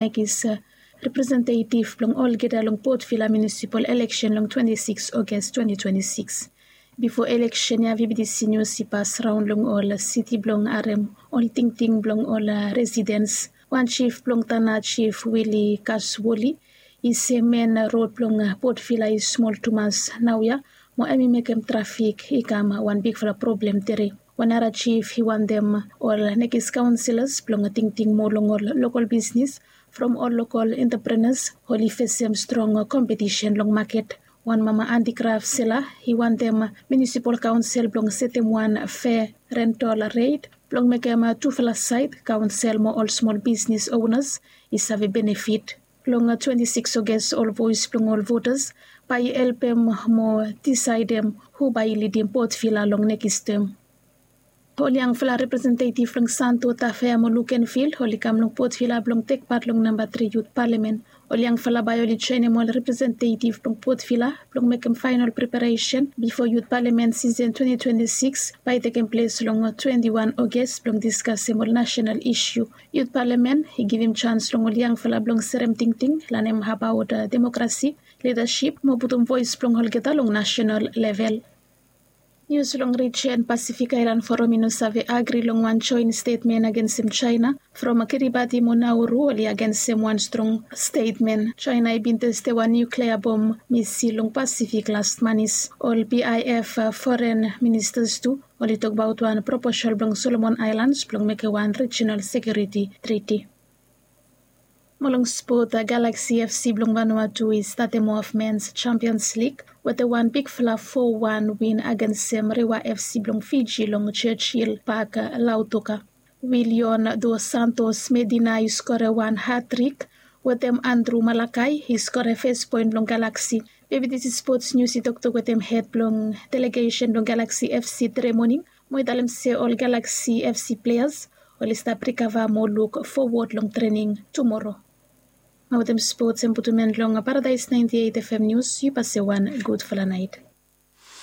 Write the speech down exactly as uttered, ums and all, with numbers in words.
Nekis representetiv blong olgeta long Port Vila munisipal eleksen long twenti sikis Ogas twenti twenti sikis. Bifo eleksen ya VBTC nius i pas raon long ol siti blong harem ol tingting blong ol residens. Wan jif blong Tana, Jif Wili Kaswoli, i se men rod blong Port Vila i smol tumas naoia, mo hem i mekem trafik i kam wan bigfala problem tere. Wan nara jif i wantem ol Nekis kaonselas blong tingting moa long ol lokol bisnis from ol lokol enteprenas oli fesem strong kompetisen long maket. Wan mama antikraf sela i wantem munisipal kaonsel blong setem wan fea rentol ret blong mekem tufala saed, kaonsel mo ol smol bisnis onas i save benefit. Long twenti sikis Ogas ol voes blong ol votas bae i helpem mo disaedem hu bae i lidim Port Vila long nekis tem. Ol yangfala representetiv blong Santo, Tafea mo Lukenvil oli kam long Port Vila blong tekpat long namba tri yut palamen. Ol yangfala bae oli joenem ol representetiv blong Port Vila blong mekem faenol preparesen bifo yut palamen sisen twenti twenti sikis bae i tekem ples long twenti wan Ogas blong diskasem ol nasenal isu. Yut palamen i givim jans long ol yangfala blong serem tingting, lanem abaot demokrasi, lidasip mo putum voes blong olgeta long nasenal level. Nius long rijen Pasifik Aelan Foram i no save agri long wan joen stetmen agensem Jaena. From Kiribati mo Nauru oli agensem wan strong stetmen. Jaena i bin testem wan niuklea bom misil long Pasifik las manis. Ol BIF foren ministas tu oli tokbaot wan proposal blong Solomon Aelans blong mekem wan rijenal sekiuriti triti. Mo long spot, Galaksi FC blong Vanuatu i statem of Mens Jampions Lig wetem wan bigfala fo wan win agensem Rewa FC blong Fiji long Churchill Pak, Lautoka. Willion Dos Santos Medina i skorem wan hatrik wetem Andru Malakai i skorem fes poen blong Galaksi. Bebidisi Spots Nius i toktok wetem hed blong delegesen blong Galaksi FC tude moning mo i talem se ol Galaksi FC pleas oli stap rikava mo luk fowod long trening tumoro. Mo wetem spots em putum en long Paradaes naenti eit FM Nius. Yu pase wan gudfala naet.